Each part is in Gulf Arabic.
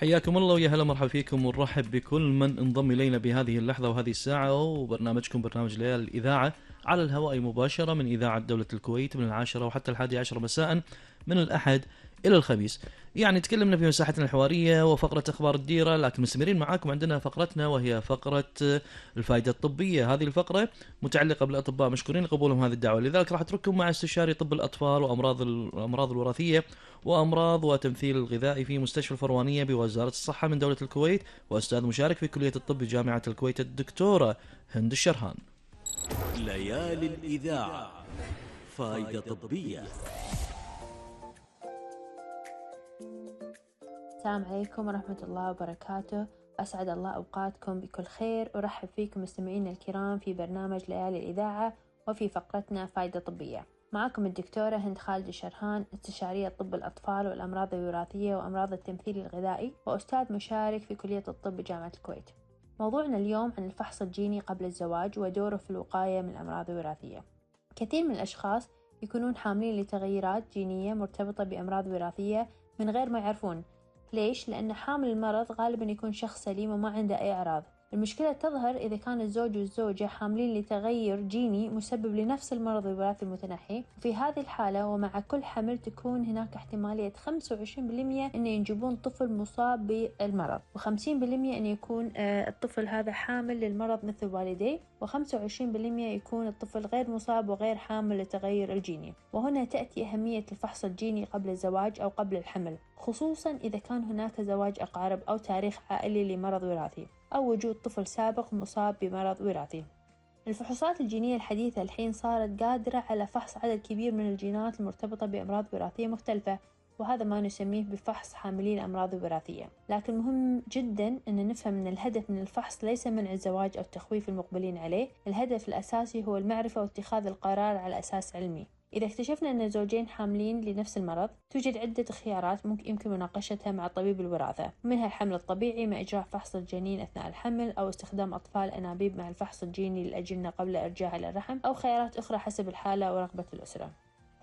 حياكم الله ويا هلا مرحبا فيكم ونرحب بكل من انضم إلينا بهذه اللحظة وهذه الساعة، وبرنامجكم برنامج ليالي الإذاعة على الهواء مباشرة من إذاعة دولة الكويت من 10 وحتى 11 مساء من الأحد إلى الخميس. يعني تكلمنا في مساحتنا الحوارية وفقرة أخبار الديرة، لكن مستمرين معاكم عندنا فقرتنا وهي فقرة الفائدة الطبية. هذه الفقرة متعلقة بالأطباء مشكورين لقبولهم هذه الدعوة، لذلك راح أترككم مع استشاري طب الأطفال وأمراض الأمراض الوراثية وأمراض وتمثيل الغذائي في مستشفى الفروانية بوزارة الصحة من دولة الكويت، وأستاذ مشارك في كلية الطب بجامعة الكويت الدكتورة هند الشرهان. ليالي الإذاعة فائدة طبية. السلام عليكم ورحمة الله وبركاته، أسعد الله أوقاتكم بكل خير، أرحب فيكم مستمعينا الكرام في برنامج ليالي الإذاعة وفي فقرتنا فائدة طبية. معكم الدكتورة هند خالد الشرهان، استشارية طب الأطفال والأمراض الوراثية وأمراض التمثيل الغذائي، وأستاذ مشارك في كلية الطب بجامعة الكويت. موضوعنا اليوم عن الفحص الجيني قبل الزواج ودوره في الوقاية من الأمراض الوراثية. كثير من الأشخاص يكونون حاملين لتغيرات جينية مرتبطة بأمراض وراثية من غير ما يعرفون. ليش؟ لأن حامل المرض غالبا يكون شخص سليم وما عنده أي أعراض. المشكلة تظهر إذا كان الزوج والزوجة حاملين لتغير جيني مسبب لنفس المرض الوراثي المتنحي، وفي هذه الحالة ومع كل حمل تكون هناك احتمالية 25% أن ينجبون طفل مصاب بالمرض، و50% أن يكون الطفل هذا حامل للمرض مثل والديه، و25% يكون الطفل غير مصاب وغير حامل لتغير الجيني. وهنا تأتي أهمية الفحص الجيني قبل الزواج أو قبل الحمل، خصوصا إذا كان هناك زواج أقارب أو تاريخ عائلي لمرض وراثي أو وجود طفل سابق مصاب بمرض وراثي. الفحوصات الجينية الحديثة الحين صارت قادرة على فحص عدد كبير من الجينات المرتبطة بأمراض وراثية مختلفة، وهذا ما نسميه بفحص حاملي الأمراض الوراثية. لكن مهم جدا أن نفهم أن الهدف من الفحص ليس منع الزواج أو تخويف المقبلين عليه، الهدف الأساسي هو المعرفة واتخاذ القرار على أساس علمي. إذا اكتشفنا أن زوجين حاملين لنفس المرض، توجد عدة خيارات يمكن مناقشتها مع طبيب الوراثة، منها الحمل الطبيعي مع إجراء فحص الجنين أثناء الحمل، أو استخدام أطفال أنابيب مع الفحص الجيني للأجنة قبل إرجاعها إلى الرحم، أو خيارات أخرى حسب الحالة ورغبة الأسرة.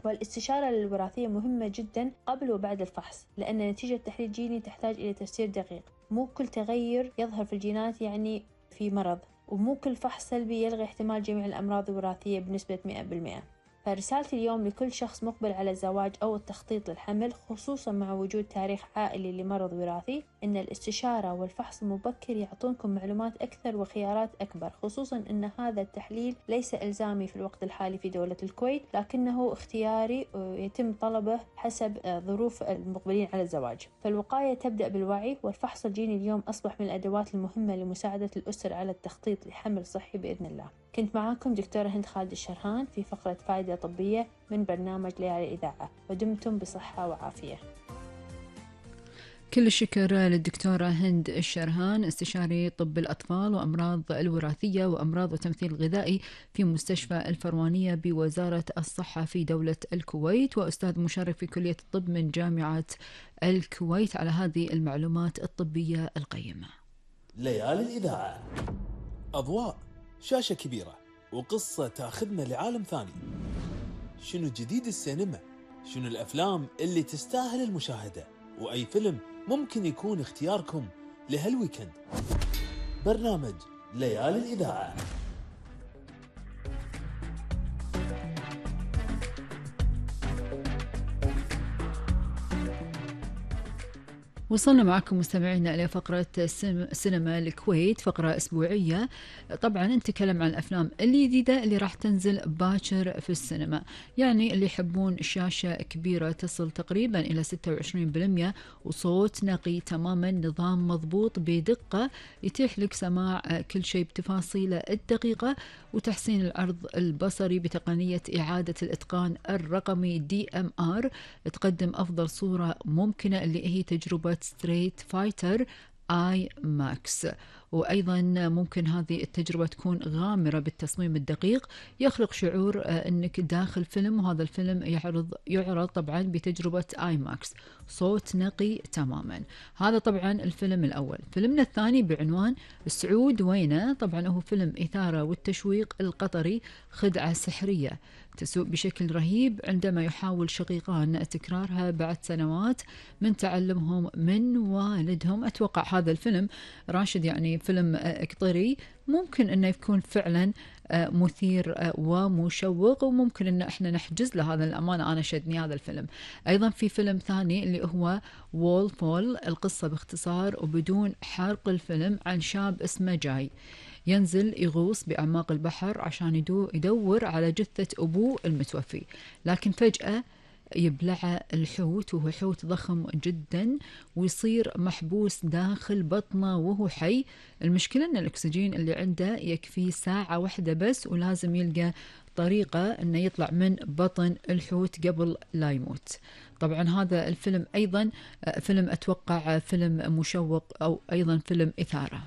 والاستشارة الوراثية مهمة جدا قبل وبعد الفحص، لأن نتيجة تحليل جيني تحتاج إلى تفسير دقيق. مو كل تغير يظهر في الجينات يعني في مرض، ومو كل فحص سلبي يلغي احتمال جميع الأمراض الوراثية بنسبة 100%. فرسالتي اليوم لكل شخص مقبل على الزواج أو التخطيط للحمل، خصوصا مع وجود تاريخ عائلي لمرض وراثي، إن الاستشارة والفحص المبكر يعطونكم معلومات أكثر وخيارات أكبر، خصوصا أن هذا التحليل ليس إلزامي في الوقت الحالي في دولة الكويت، لكنه اختياري ويتم طلبه حسب ظروف المقبلين على الزواج. فالوقاية تبدأ بالوعي، والفحص الجيني اليوم أصبح من الأدوات المهمة لمساعدة الأسر على التخطيط لحمل صحي بإذن الله. كنت معاكم دكتورة هند خالد الشرهان في فقرة فائدة طبية من برنامج ليالي الإذاعة، ودمتم بصحة وعافية. كل الشكر للدكتورة هند الشرهان، استشاري طب الأطفال وأمراض الوراثية وأمراض وتمثيل الغذائي في مستشفى الفروانية بوزارة الصحة في دولة الكويت، وأستاذ مشارك في كلية الطب من جامعة الكويت، على هذه المعلومات الطبية القيمة. ليالي الإذاعة، أضواء، شاشة كبيرة، وقصة تاخذنا لعالم ثاني. شنو جديد السينما؟ شنو الأفلام اللي تستاهل المشاهدة؟ وأي فيلم ممكن يكون اختياركم لهالويكند؟ برنامج ليالي الإذاعة. وصلنا معكم مستمعينا إلى فقرة سينما الكويت، فقرة أسبوعية طبعا نتكلم عن الأفلام الجديدة اللي راح تنزل باكر في السينما. يعني اللي يحبون شاشة كبيرة تصل تقريبا إلى 26 وصوت نقي تماما، نظام مضبوط بدقة يتيح لك سماع كل شيء بتفاصيله الدقيقة، وتحسين العرض البصري بتقنية إعادة الإتقان الرقمي DMR، تقدم أفضل صورة ممكنة اللي هي تجربة ستريت فايتر آي ماكس. وأيضا ممكن هذه التجربة تكون غامرة بالتصميم الدقيق، يخلق شعور أنك داخل فيلم، وهذا الفيلم يعرض طبعا بتجربة آي ماكس، صوت نقي تماما. هذا طبعا الفيلم الأول. فيلمنا الثاني بعنوان سعود وينه، طبعا هو فيلم إثارة والتشويق القطري، خدعة سحرية تسوء بشكل رهيب عندما يحاول شقيقان تكرارها بعد سنوات من تعلمهم من والدهم. أتوقع هذا الفيلم راشد يعني فيلم قطري، ممكن أنه يكون فعلا مثير ومشوق، وممكن أن احنا نحجز له. هذا الأمانة أنا شدني هذا الفيلم. أيضا في فيلم ثاني اللي هو وول فول، القصة باختصار وبدون حرق الفيلم عن شاب اسمه جاي ينزل يغوص بأعماق البحر عشان يدور على جثة أبوه المتوفي، لكن فجأة يبلعه الحوت، وهو حوت ضخم جدا، ويصير محبوس داخل بطنه وهو حي. المشكلة أن الأكسجين اللي عنده يكفي ساعة واحدة بس، ولازم يلقى طريقة أنه يطلع من بطن الحوت قبل لا يموت. طبعا هذا الفيلم أيضا فيلم أتوقع فيلم مشوق أو أيضا فيلم إثارة.